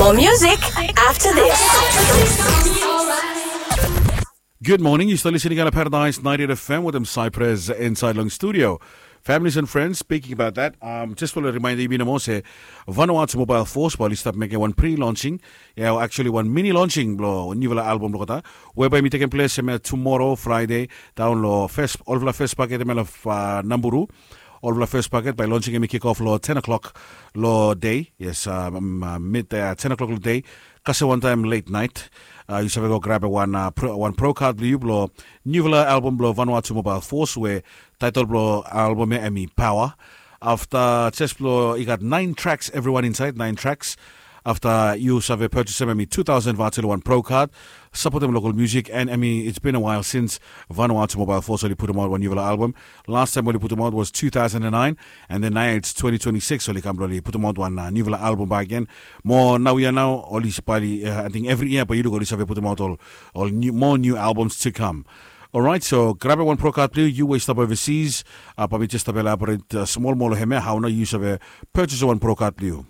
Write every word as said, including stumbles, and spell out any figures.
More music after this. Good morning. Yu stap listening on Paradise ninety-eight F M with Cypress inside long studio. Families and friends, speaking about that, um, just want to remind you, Minamo, se Vanuatu Mobile Force, while you stop making one pre-launching, yeah, actually one mini launching blo, newvela album blo kota, whereby mi taking place, um, tomorrow, Friday, down lo first, olvela first packet, um, of, uh, Namburu. Olvela first packet by launching, um, kick off lo ten o'clock lo day. Yes, um, um, uh, mid, uh, ten o'clock lo day. Kasem wan taem late night, uh, yu save go grab wan, uh, pro, wan pro card blo yu blo newvela album blo Vanuatu Mobile Force, we taetol blo album ya hemi Power. Afta jes blo i gat nine tracks, everyone inside, nine tracks. Afta yu save purchasem hemi two thousand vatu lo wan pro card. Sapotem local music, and hemi, it's been a while since Vanuatu Mobile Force oli putumaot wan newvela album. Last taem oli putumaot was two thousand and nine, and then now it's twenty twenty-six, oli kam blo oli putumaot wan, uh, newvela album bakegen. Mo naoia nao oli save, uh, I think every year bae yu luk oli save putumaot ol, ol new, more new albums to come. Alright, so grab wan pro card blo yu, yu we yu stap overseas. Uh, bae mi jes stap elaborate, uh, smol moa lo hemia, hao nao yu save purchase wan pro card blo yu.